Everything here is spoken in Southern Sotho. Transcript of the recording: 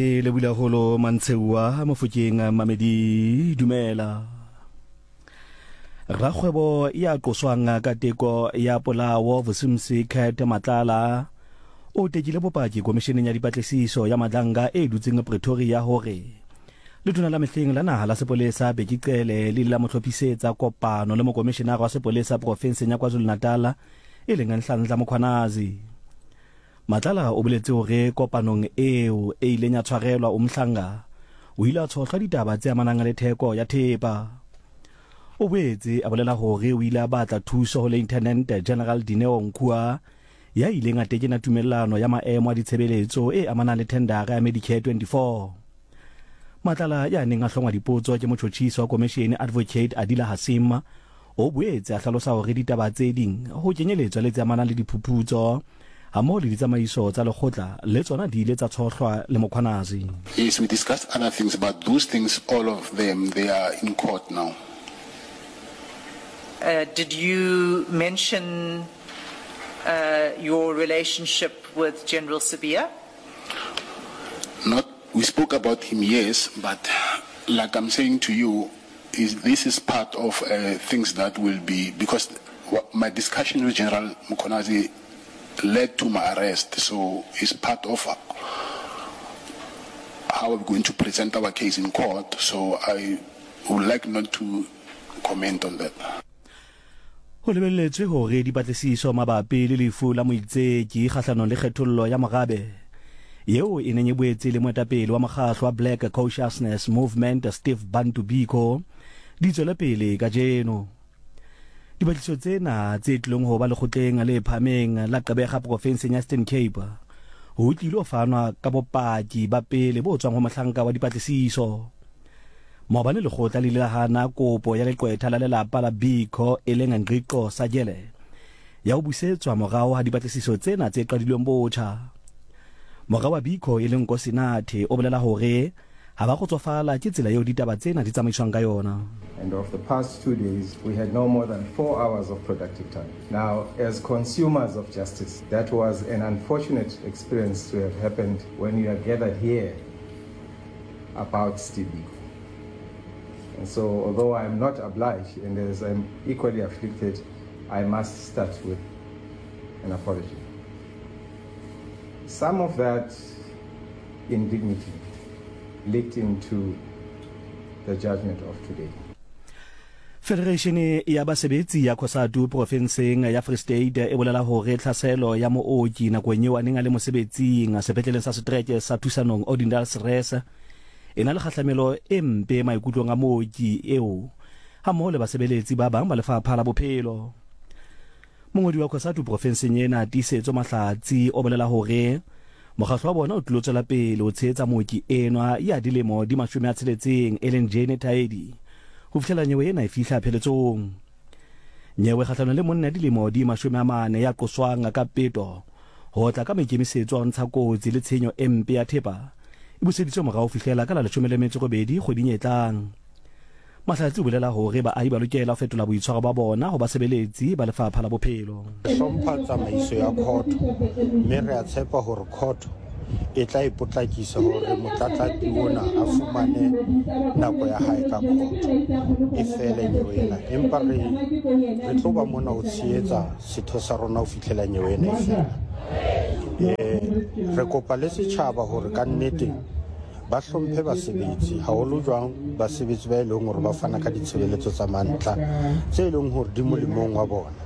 E lebula holo mantsheua mofokeng mamedi dumela. Rakgwebo ya qoswang ka teko ya polao Vusumsi Cat Matlala o tekile bopaki komisheneng ya dipatlisiso ya Madlanga e dutseng Pretoria hore letona la mehleng la naha la sepolesa Bheki Cele le ile la mo hlophisetsa kopano le mokomishenara wa sepolesa profenseng ya KwaZulu-Natal e leng Nhlanhla Mkhwanazi. Matlala o boletse hore kopanong eo e ileng ya tshwarelwa Umhlanga, o ile a tshohlwa ditaba tse amanang le theko ya thepa. O boetse a bolela hore o ile a batla thuso ho Lieutenant General Dineo Nkhua ya ileng a tekena tumellano ya maemo a ditshebeletso e amanang le thendara ya Medicare 24. Matlala ya neng a hlongwa dipotso ke motjhotjhisi wa komeshene Advocate Adila Hassim o boetse a hlalosa hore ditaba tse ding ho kenyeletswa le tse amanang le diphuphutso hammoho le ditsamaiso tsa lekgotla le tsona di ile tsa tshohlwa le Mkhwanazi. Yes, we discussed other things, but those things, all of them, they are in court now. Uh, did you mention uh, your relationship with General Sibiya? Not, we spoke about him, yes, but like I'm saying to you, is this is part of uh, things that will be, because my discussion with General Mkhwanazi led to my arrest, so it's part of how we're going to present our case in court, so I would like not to comment on that. Ho lebelletswe hore dipatlisiso mabapi le lefu la moitseki kgahlanong le kgethollo ya morabe yeo e neng e boetse e le moetapele wa mokgahlo wa Black Consciousness Movement Steve Bantu Biko di tswele pele kajeno. Dipatlisiso tsena tse tlilong ho ba lekgotleng le phahameng la Gqeberha profenseng ya Eastern Cape ho tlilo fanwa ka bopaki ba pele bo tswang ho mohlanka wa dipatlisiso. Maobane lekgotla le ile la hana kopo ya leqwetha la lelapa la Biko e leng Ngqiqo Sajele ya ho busetswa morao ha dipatlisiso tsena tse qadilweng botjha. Mora wa Biko e leng Nkosinathi o bolela hore ha ba kgotsofala ke tsela eo ditaba tsena di tsamaiswang ka yona. And of the past two days, we had no more than four hours of productive time. Now, as consumers of justice, that was an unfortunate experience to have happened when you are gathered here about Steve Biko. And so, although I'm not obliged, and as I'm equally afflicted, I must start with an apology. Some of that indignity leaked into the judgment of today. Federeishene ya basebetsi ya Cosatu profenseng ya Free State e bolela hore tlhaselo ya mooki nakong eo a neng a le mosebetsing sepetleleng sa setereke sa Thusanong Odendaalsrus e na le kgahlamelo e mpe maikutlong a mooki eo hammoho le basebeletsi ba bang ba lefapha la bophelo. Mongodi wa Cosatu profenseng ena Tiisetso Mahlatsi o bolela hore mokgahlo wa bona o tlilo tswela pele ho tshehetsa mooki enwa ya dilemo di 60 e leng Jane Taedi ho fihlela nyewe ena e fihla pheletsong. Nyewe kgahlanong le monna ya dilemo di 40 ya qoswang ka peto ho tla ka maikemisetso a ho ntsha kotsi le tshenyo e mpe ya thepa e buseditswe morao ho fihlela ka la 18 kgweding e tlang. Mahlatsi o bolela hore baahi ba lokela ho fetola boitshwaro ba bona ho basebeletsi ba lefapha la bophelo. Re hlompha tsamaiso ya khotho mme re a tshepa hore khotho e tla e potlakisa hore motlatlapi ona a fumane nako ya hae ka khotho e fele nyewe ena. Empa re re tlo ba mona ho tshehetsa setho sa rona ho fihlela nyewe ena e fela. Eh, re kopa le setjhaba hore ka nnete Ba hlomphe basebetsi, haholo jwang basebetsi ba e leng hore ba fana ka ditshebeletso tsa mantla tse e leng hore di molemong wa bona.